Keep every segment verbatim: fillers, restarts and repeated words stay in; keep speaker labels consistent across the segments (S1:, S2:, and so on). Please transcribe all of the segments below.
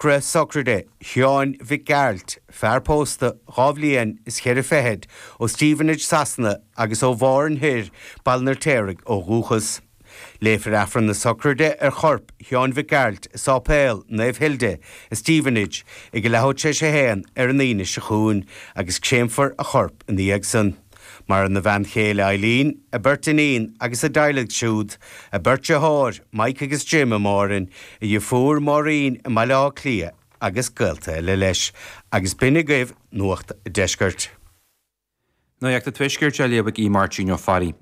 S1: Socruithe sochraide Sheáin Mhic Gearailt, fear pósta dhá bhliain is cheithre fichid ó Stevenage Sasana agus ó Bhárn Thoir, Baile an Fheirtéaraigh ó dhúchas. Léifear Aifreann na sochraide ar chorp Sheáin Mhic Gearailt i Sáipéal Naomh Hilda i Stevenage ag a leathuair tar éis a haon ar an Aoine seo chugainn agus créamfar a chorp ina dhiaidh san. Maireann a bhean chéile Eileen, a beirt iníon agus a dteaghlaigh siúd, a beirt deartháir, Mike agus Jim i mBáirn, a dheirfiúr Máirín i mBaile Átha Cliath agus gaolta eile leis. Agus b'in agaibh Nuacht an Deiscirt.
S2: Nuacht an Tuaiscirt á léamh ag Máirtín Ó Fearraigh.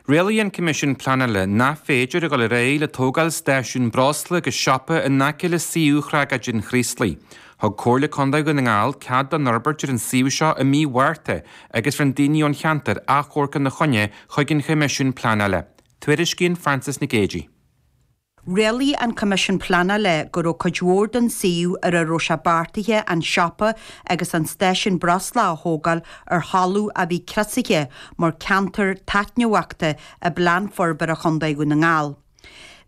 S2: Rialaigh an Coimisiún Pleanála nach féidir a dhul ar aghaidh le tógáil stáisiún breosla agus siopa in aice le suíomh thragóid an Chraoslaigh. Thug Comhairle Contae Dhún na nGall cead don fhorbairt ar an suíomh seo i mí Mhárta agus rinne daoine ón cheantar achomharc ina choinne chuig an Choimisiún Pleanála. Tuairiscíonn Frances Nic Géadaigh.
S3: Rialaigh an Coimisiún Pleanála go raibh cuid mhór den suíomh ar a raibh sé beartaithe an siopa agus an stáisiún breosla a thógáil ar thalamh a bhí criosaithe mar ceantar taitneamhachta i bPlean Forbartha Chontae Dhún na nGall.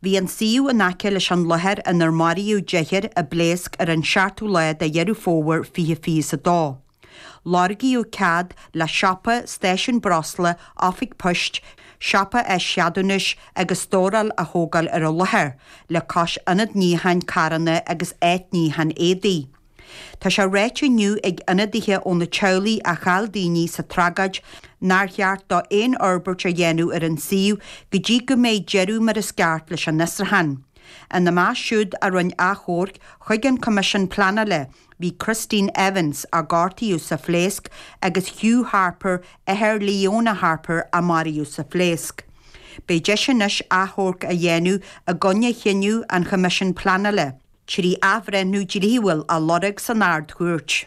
S3: Bhí an suíomh in aice leis an láthair inar maraíodh deichniúr i bpléasc ar an seachtú lá de Dheireadh Fómhair fiche fiche a dó. Lorgaíodh cead le siopa, stáisiún breosla, oifig poist, siopa áischeadúnais agus stóráil a thógáil ar an láthair, le cois ionad níocháin carranna agus áit níocháin éadaí. Tá sé ráite inniu ag ionadaithe ó na teaghlaigh a chaill daoine sa tragóid nár cheart dó aon fhorbairt a dhéanamh ar an suíomh go dtí go mbeidh deireadh mar is ceart leis an fhiosrúchán. Ina measc siúd a rinne achomharc chuig an Coimisiún Pleanála bhí Christine Evans a gortaíodh sa phléasc agus Hugh Harper athair Leona Harper a maraíodh sa phléasc. Beidh deis anois achomharc a dhéanamh i gcoinne chinneadh an Choimisiúin Pleanála trí athbhreithniú dlíthiúil a lorg san Ard-Chúirt.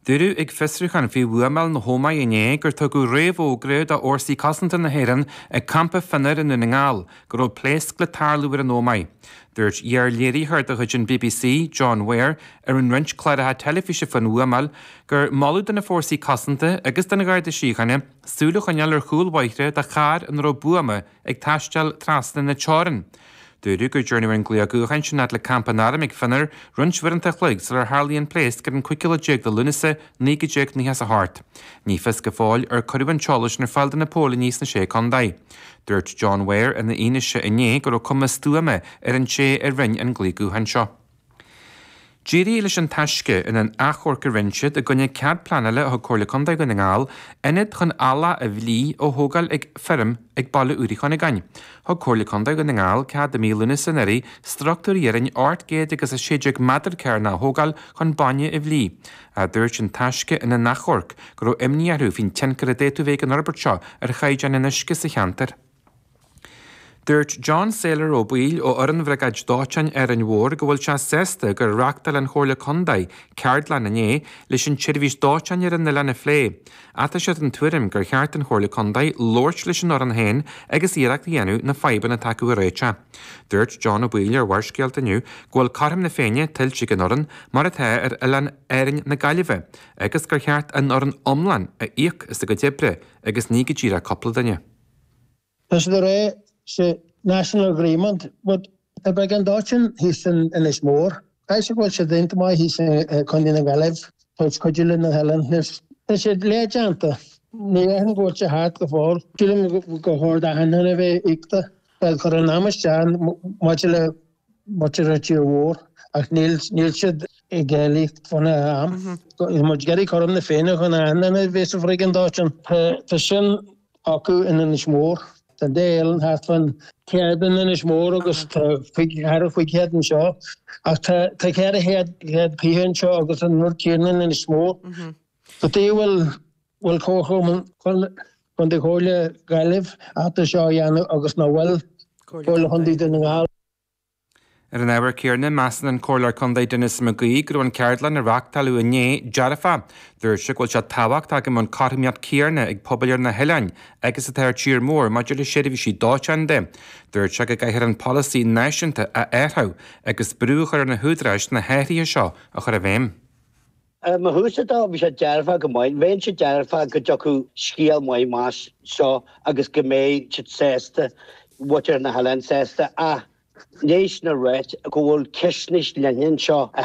S2: Dúradh ag fiosrúchán faoi bhuamáil na hÓmaí inné gur tugadh réamhfhógra do Fhórsaí Cosanta na hÉireann ag campa Fionnar i nDún na nGall go raibh pléasc le tarlú ar an Ómaigh. Dúirt iar-léiritheoir de chuid an BBC, John Ware, a rinne roinnt cláracha teilifíse faoin bhuamáil, gur moladh do na fórsaí cosanta agus don Gharda Síochána súil a choinneáil ar chúl bóithre do charr ina raibh buama ag taisteal trasna na teorann. Dúradh gur dearnadh an glao gutháin sin fhad le campa an airm ag Fionnar roinnt uaireanta a chloig sular tharlaigh an pléasc ar an cúigiú lá déag de Lúnasa naoi déag nócha is a hocht. Ní fios go fóill ar cuireadh an t-eolas sin ar fáil do na póilíní sna sé contae. Dúirt John Ware ina fhianaise inné go raibh cuma stuama ar an té a rinne an glao gutháin seo. D'éirigh leis an Taisce in an achomharc a rinne siad i gcoinne cead pleanála a thug Comhairle Contae Dhún na nGall ionad chun eallach a bhlí a thógáil ag feirm ag baile Úr Uí Chuinneagáin. Thug Comhairle Contae Dhún na nGall cead i mí Lúnasa anuraidh struchtúr iarainn ocht gcéad agus a sé déag méadar cearnach a thógáil chun bainne a bhlí. A dúirt an Taisce ina n-achomharc go raibh imní orthu faoin tionchar a d'fhéadfadh bheith ag an fhorbairt seo ar chaighdeán an uisce sa cheantar. Dúirt John Saylor Ó Baoill ó Fhoireann Bhriogáid Dóiteáin Árainn Mhór go bhfuil sé sásta gur reáchtáil an Chomhairle Contae ceardlann inné leis an tseirbhís dóiteáin ar an oileán a phlé. Ach tá sé den tuairim gur cheart don Chomhairle Contae labhairt leis an fhoireann féin agus iarracht a dhéanamh na fadhbanna atá acu a réiteach. Dúirt John Ó Baoill ar Bharrscéalta inniu go bhfuil cothrom na Féinne tuillte ag an fhoireann mar atá ar oileán Árainn na Gaillimhe agus gur cheart an fhoireann iomlán a íoc as a gcuid oibre agus ní go díreach cúpla duine.
S4: Tá siad ag rá sé national agreement, but tá briogáid dóiteáin thíos in Inis Mór. Caithfidh sé go bhfuil siad déanta maith thíos i Contae na Gaillimhe, tá cuidiú le na hoileáin anois. Tá siad leathdhéanta. Ní dhéarfainn go bhfuil sé thart go fóill. Sílim gur chóir d'achan duine a bheith íocta. Tá cur an am isteach maidir le muintir an tír mhór ach níl níl siad ag éileamh faoina am. Tá muid ag iarraidh cothrom na Féinne chun achan duine a bheith sa bhriogáid dóiteáin. Tá sin acu in Inis Mór. Tá an dá oileán thart fán céad in Inis Mór agus tá thar chúig chéad anseo. Ach tá tá ceithre chéad chéad fiche anseo agus an rud céanna in Inis Mór. Cad chuige a bhfuil bhfuil Comharchumann Chontae Chomhairle Gaillimh ábalta seo a dhéanamh agus nach bhfuil Comhairle Chontae Dhún na nGall.
S2: Ar an ábhar céanna, measann an Comhairleoir Contae Denis McGee go raibh an ceardlann a reáchtáladh inné dearfach. Dúirt sé go bhfuil sé tábhachtach go mbeadh an cothromaíocht chéanna ag pobail ar na hoileáin agus atá ar tír mór maidir le seirbhísí dóiteáin de. Dúirt sé go gcaithfear an polasaí náisiúnta a athrú agus brú a chur ar na húdaráis na hathruithe seo a chur i bhfeidhm.
S5: Mo thaobhsa dó, bhí sé dearfach go maith. Bheinnse dearfach go dtiocfadh scéal maith amach seo agus go mbeidh siad sásta, muintir na hoileáin sásta ach Léis na réit go bhfuil ceist níos leithne anseo.